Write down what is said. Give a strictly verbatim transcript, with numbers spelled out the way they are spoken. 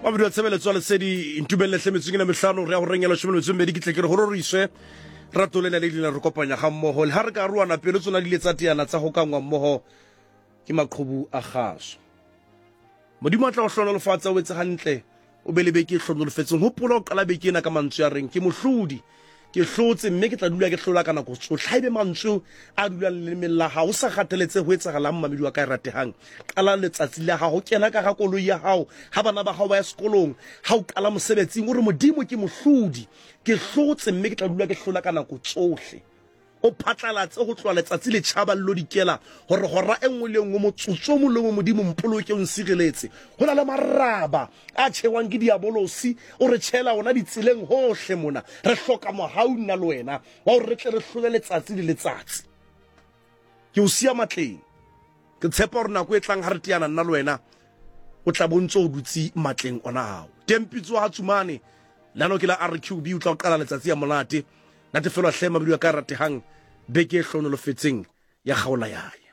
Mabedi wa tshebeletso ya Lesedi, ntumelle hle metsong ena mehlano re ya horeng ya leshome le metso e mmedi, ke tle ke re ho roriswe rato lena le ileng la re kopanya ga mmoho. Le ha re ka arohana pelo tsona di ile tsa teana, tsa hokangwa mmoho ke maqhubu a kgaso. Modimo a tla o hlohonolofatsa, o etse hantle, o be le beke e hlohonolofetseng. Hopola ho qala beke ena ka mantswe a reng ke mohlodi, ke hlotse mme ke tla dula ke hlola ka nako tsohle. Haebe mantswe a dulang lelemeng la hao, o sa kgathaletse ho etsahalang, mamedi wa ka e ratehang, qala letsatsi la hao, kena ka ga koloi ya hao, ha bana ba hao ba ya sekolong, ha o qala mosebetsing, o re Modimo ke mohlodi, ke hlotse mme ke tla dula ke hlola ka nako tsohle. O phatlalatse ho tloha letsatsi le tjhaba le lo dikela, hore hora e nngwe le e nngwe, motsotso o mong le o mong, Modimo mpoloke, o nsireletse. Ho na le maraba a tjhewang ke diabolosi, o re tjhela ona ditseleng hohle mona. Re hloka mohau nna le wena wa hore re tle re hlole letsatsi le letsatsi. Ke o siya matleng, ke tshepa hore nako e tlang ha re teana nna le wena, o tla bo ntso o dutse matleng ona ao. Teng pitso ha Tsumane lano ke la R Q B, o tla o qala letsatsi ya monate. Natefelwa hle mabidi wa ka ratehang, beke e hlohonolofetseng ya kgaola yae.